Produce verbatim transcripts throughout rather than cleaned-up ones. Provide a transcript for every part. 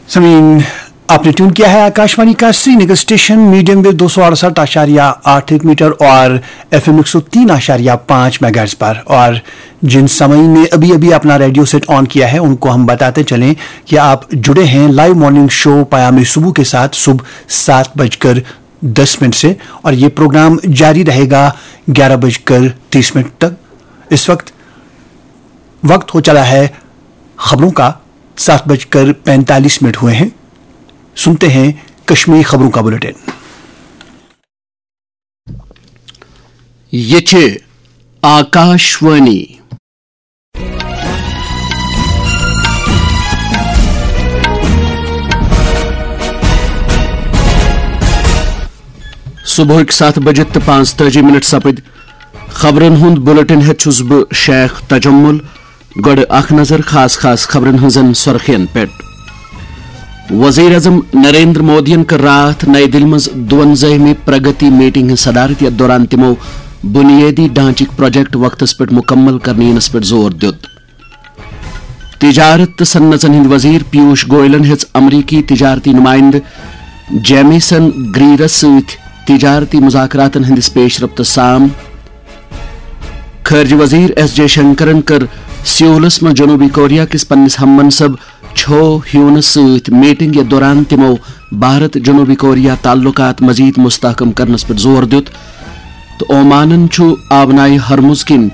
समीन, आपने ट्यून किया है आकाशवाणी का श्रीनगर स्टेशन, मीडियम वेव दो सौ अड़सठ आशारिया आठ एक मीटर और एफ एम एक सौ तीन आशारिया पाँच मेगाहर्ट्ज पर। और जिन सामीन ने अभी अभी अपना रेडियो सेट ऑन किया है, उनको हम बताते चलें कि आप जुड़े हैं लाइव मॉर्निंग शो पयामे सुबह के साथ सुबह सात बजकर दस मिनट से, और ये प्रोग्राम जारी रहेगा ग्यारह बजकर तीस मिनट तक। इस वक्त वक्त हो चला है खबरों का, सात बजकर पैंतालीस मिनट हुए हैं। सुनते हैं कश्मीरी खबरों का बुलेटिन। ये छे आकाशवाणी। صبحٕکۍ ستھ بجِتھ تہٕ پانٛژتٲجی منٹ سپٕدۍ۔ خبرن ہُنٛد بلیٹن ہیتھ چھُس بہٕ شیخ تجمل۔ گۄڈٕ اکھ نظر خاص خاص خبرن ہٕنٛزن سرخین پٮ۪ٹھ۔ وزیر اعظم نریندر مودیَن کٔر راتھ نئی دِلہِ منٛز دُوَنزٲہمہِ پرگتی میٹنگ ہٕنٛز صدارت، یتھ دوران تِمو بنیٲدی ڈھانچٕکۍ پروجیکٹ وقتس پٮ۪ٹھ مکمل کرنہٕ یِنس پٮ۪ٹھ زور دیُت۔ تجارت تہٕ صنعژن ہٕنٛدۍ وزیر پیوش گوئلن ہیٚژ امریکی تجارتی نمائندٕ جیمیسن گریرس سۭتۍ تجارتی مذاکراتن ہٕنٛدِس پیش رفتس سام۔ خارجہ وزیر ایس جے شنکرن کٔر سیولس منٛز جنوبی کوریا کِس پننِس ہم منصب چھو ہیونس سۭتۍ میٹنگ، یتھ دوران تِمو بھارت جنوبی کوریا تعلقات مزید مستحکم کرنس پٮ۪ٹھ زور دیُت۔ تہٕ اومانن چھُ آبنائے ہرمز کِنۍ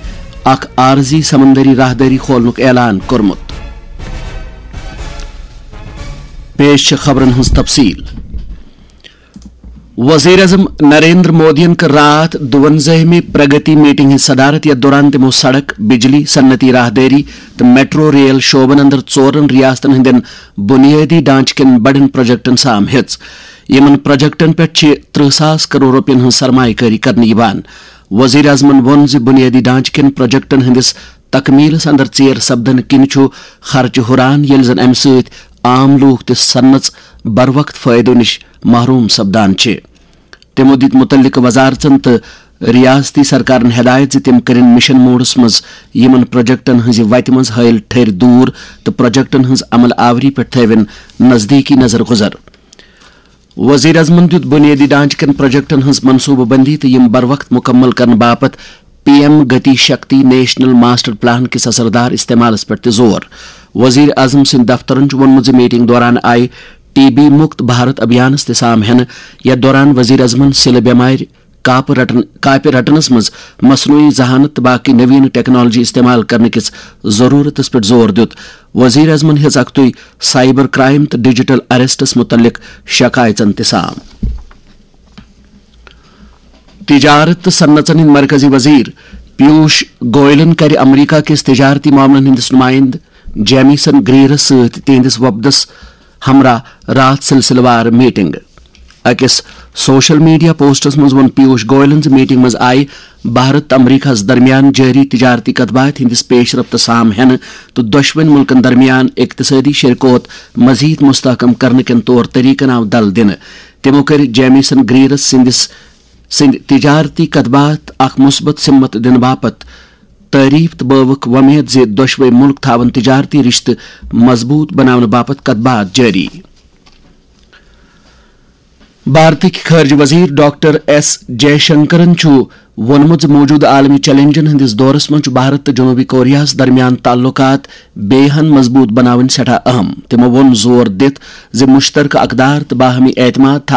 اکھ عارضی سمندری راہدٲری کھولنُک اعلان کوٚرمُت۔ پیش چھِ خبرن ہٕنٛز تفصیل۔ وزیر اعظم نریندر مودیَن کٔر راتھ دُوَنزٲہمہِ پرگتی میٹنگ ہٕنٛز صدارت، یتھ دوران تِمو سڑک، بجلی، صنعتی راہدٲری تہٕ میٹرو ریل شعبن اندر ژورن ریاستن ہٕنٛدٮ۪ن بنیٲدی ڈھانچہٕ کٮ۪ن بڑٮ۪ن پروجیکٹن سام ہیٚژ۔ یِمن پروجیکٹن پٮ۪ٹھ چھِ ترٕہ ساس کرور رۄپین ہٕنٛز سرمایہ کٲری کرنہٕ یِوان۔ وزیر اعظمن ووٚن زِ بنیٲدی ڈھانچہٕ کٮ۪ن پروجیکٹن ہٕنٛدِس تکمیلس اندر ژیر سپدنہٕ کِنۍ چھُ خرچہٕ ہُران، ییٚلہِ زن امہِ سۭتۍ عام لوٗکھ تہٕ صنعژ بروقت فٲیدٕ نِش محروم سپدان چھِ۔ تِمو دِتۍ مُتعلقہٕ وزارژن تہٕ ریاستی سرکارن ہدایت زِ تِم کٔرِن مشن موڈس منٛز یِمن پروجیکٹن ہٕنٛزِ وتہِ منٛز ہٲیِل ٹھٔرۍ دوٗر تہٕ پروجیکٹن ہٕنٛز عمل آوری پٮ۪ٹھ تھٲوِن نزدیٖکی نظر گُزر۔ وزیر اعظمن دِیُت بنیٲدی ڈھانچہٕ کٮ۪ن پروجیکٹن ہٕنٛز منصوٗبہٕ بندی تہٕ یِم بروقت مُکمل کرنہٕ باپتھ P M Gati Shakti national master plan کِس اثردار استعمالس پٮ۪ٹھ تہِ زور۔ وزیر اعظم سٕنٛدِ دفترن چھُ ووٚنمُت زِ میٹنگ دوران آیہِ ٹی بی مُکت بھارت ابھیانس تہِ سام ہٮ۪نہٕ، یتھ دوران وزیر اعظمن سِلہٕ بٮ۪مارِ کاپہٕ رٹن-، کاپہِ رٹنس منٛز مصنوعی ذہانت تہٕ باقی نوین ٹیکنالوجی استعمال کرنہٕ کِس ضرورتس پٮ۪ٹھ زور دیُت۔ وزیر اعظمن ہیٚژ اکھتُے سائبر کرائم تہٕ ڈیجیٹل اریسٹس مُتعلق شکایژن تہِ سام۔ تجارت تہٕ صنعژن ہٕنٛدۍ مرکزی وزیر پیوش گوئلن کَرِ امریکہ کِس تجارتی معاملن ہٕنٛدِس نمائندٕ جیمیسن گریرس سۭتۍ تِہنٛدِس وفدس ہمراہ راتھ سلسلہٕ وار میٹنگ۔ أکِس سوشل میڈیا پوسٹس منٛز ووٚن پیوش گوئلن زِ میٹنگ منٛز آیہِ بھارت تہٕ امریکہس درمیان جٲری تجارتی کتھ باتھ ہٕنٛدِس پیش رفتس سام ہٮ۪نہٕ تہٕ دۄشوٕنۍ مُلکن درمیان اقتصٲدی شراکت مزید مستحکم کرنہٕ کٮ۪ن طور طریقن آو دل دِنہٕ۔ تِمو کٔرۍ جیمیسن گریرس سٕنٛدِس سٕنٛدۍ تجارتی کتھ باتھ اکھ مثبت سمت دِنہٕ باپتھ تعریف تہٕ بٲوٕکھ وۄمید زِ دۄشوے مُلک تھاون تجارتی رشتہٕ مضبوط بناونہٕ باپتھ کتھ باتھ جٲری۔ بھارتٕکۍ خارجہ وزیر ڈاکٹر ایس جے شنکرن چھُ ووٚنمُت زِ موجودٕ عالمی چیلنجن ہٕنٛدِس دورس منٛز چھُ بھارت تہٕ جنوبی کوریاہس درمیان تعلقات بیٚیہِ ہن مضبوط بناوٕنۍ سٮ۪ٹھاہ اہم۔ تِمو ووٚن زور دِتھ زِ مشترکہ اقدار تہٕ باہمی اعتماد